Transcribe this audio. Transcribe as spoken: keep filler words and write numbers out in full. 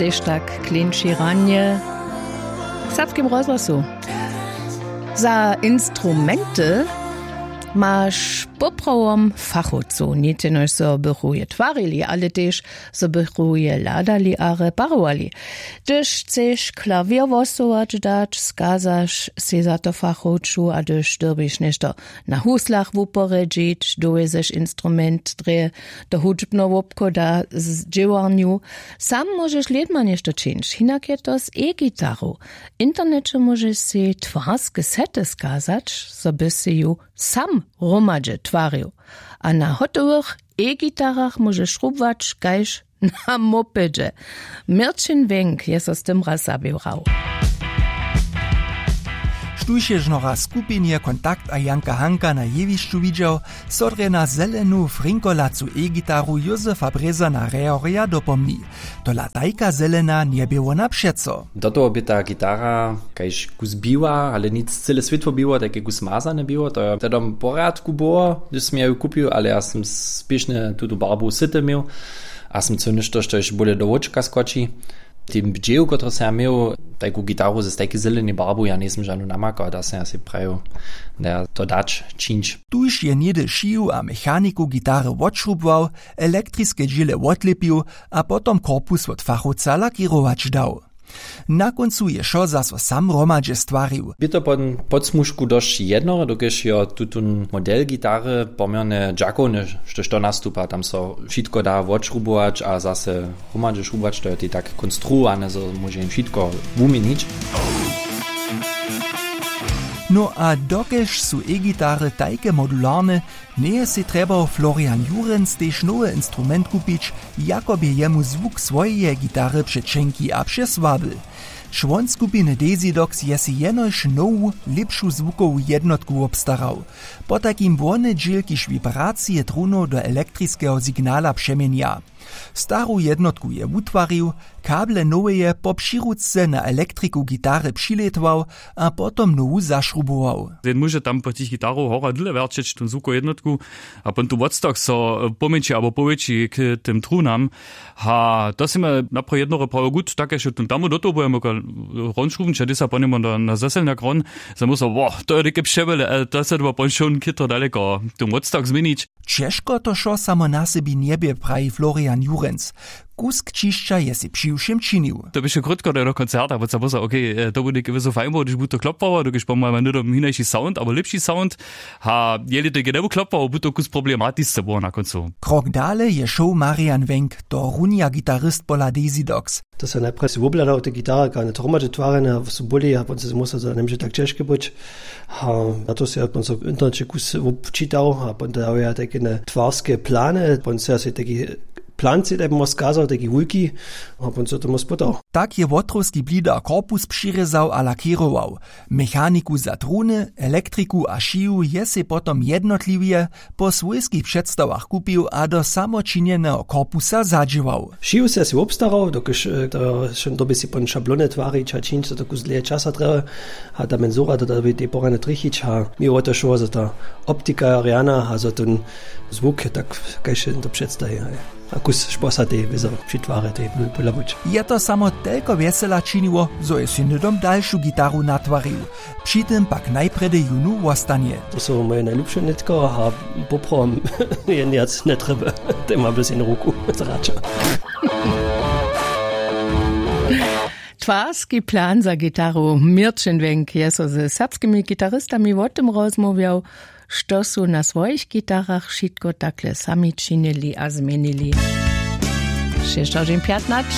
Tež tak klinči ranje w serbskim rozhłosu. Za instrumenty maš poprawom fachowcow, nic jenož zo bychu je twarili, ale tež zo bychu je hladali a reparowali. Hdyž chceš klawěr wosołać dać, skazaš sej za to fachowču, a hdyž dyrbiš něšto na huslach wuporjedźić, dowjezeš instrument drje do hudźbneho wobchoda z dźěłarnju. Sam móžeš lědma něšto čińć, hinak je to z e-gitaru. W interneće móžeš sej twarske sety skazać, zo by sej ju sam hromadźe twarił. A na hotowych e-gitarach móžeš šrubować kaž na mopedźe. Měrćin Wenk je so z tym raz zaběrał. Štóž je žno raz w skupinje Kontakt a Janka Hanka na jewišću widźał, so drje na zelenu frinkolacu e-gitaru Józefa Brězana Rehorja dopomni. Tola tajka zelena njebě wona přeco. Do toho bě ta gitara kaž kus biła, ale nic, cyle swětło biło, tajke kus mazane biło, to je tehdom w porjadku było, hdyž sym ja ju kupił, ale ja sym spěšnje tutu barbu syty měł a sym chcył něšto, štož bóle do wočka skoči. Ten dźěł, kotryž sym ja měł, tajku gitaru z tajki zelenej barbu, ja njejsym žanu namakał, da sym ja sej prajił, da ja to dać čińć. Tuž je něhdy šiju a mechaniku gitary wotšrubował, elektriske dźěle wotlěpił a potom korpus wot fachowca lakěrować dał. Na kóncu je wšo zaso sam hromadźe stwarił. Bě to po podsmužku dosć jednoho, dokelž jo tutón model gitary poměrnje dźakowny, štož to nastupa, tam so wšitko da wotšrubować a zase hromadźe šrubować, to je tej tak konstruowane, zo móže jim wšitko wuměnić. No a dokelž su e-gitary tajke modularne, njeje sej trjebał Florian Jurenc tež nowy instrument kupić, jako bě jemu zwuk swojeje gitary přećenki a přesłaby. Čłon skupiny Desidox je sej jenož nowu, lěpšu zwukowu jednotku wobstarał. Potajkim wone dźěl, kiž wibracije trunow do elektriskeho signala přeměnja. Staru jednotku je wutwarił, kable noweje po přiručce na elektriku gitary přilětwał a potom nowu zašrubował. Jen móže tam po tych gitarow hora dyle wjerćeć tón zwukow jednotku a pon tu wotstach so, e, pomjeńši abo powětši k tym trunam. Ha, to sej mje napraw jednoho prawo gut, tak kaž tón tamu do toho budemo hron šruwnić a dej sa po njemu na, na zaselnjak hron, za mu so, wo, to je dike přewjele, e, to se dwa pon šołn chytro daleko tón wotstach změnić. Ćežko to wšo samo na sebi njebě, praji Florian Jurenc. Kusk ćišća je sej přiwšěm činił. To běše krótko do koncerta, bo se pozor, okej, e, to bu něke wězo fajn było, hdyž bu to klopłało, dokelž pomajmy hnydom hinaši sound abo lěpši sound. Ha, jeli to něke njebu klopłało, bu to kus problematisce było na kóncu. Krok dale je šoł Marian Wenk, to runja gitarist pola Desidox. To se najprjedy wobhladał te gitary, kak one hromadźe twarjene su byli, a pon se musał, zo nemóže tak ćežke być. A na to se ja pon so w interneće kus wobčitał a pon to dał ja tajke twarske plany, pon se ja sej tajki plan sej tajbimo skazał, tajki wulki, a pon so tomu spytał. Tak je wotrowski blidar korpus přirězał a lakěrował. Mechaniku za truny, elektriku a šiju je sej potom jednotliwje po swójskich předstawach kupił a do samočinjeneho korpusa zadźěłał. Šiju se sej wobstarał, dokelž, e, to wšo dobi sej pon šablony twarić a čińć, to kus dlěje časa trjebuje. A ta menzura to da tej porjadnje trjechić a mi wo to šło, zo ta optika je rjana a zo tón zwuk je tak, kaž to předstaji, haj. A kus šposa tej wězo při twarje tej podla być. Je to samo telko wjesela činiło, zo je sej hnydom dalšu gitaru natwarił. Při tym pak najprjedy jónu wostanje. To su moje najlubše nětko a poprawom jen wjac njetrjeby. Tej ma bys jen ruku zraća. Twarski plan za gitaru. Měrćin Wenk je so ze serbskimi gitaristami wo tym rozmołwjał, što su na swojich gitarach wšitko takle sami činili a změnili. Šěsć hodźin pjatnaće.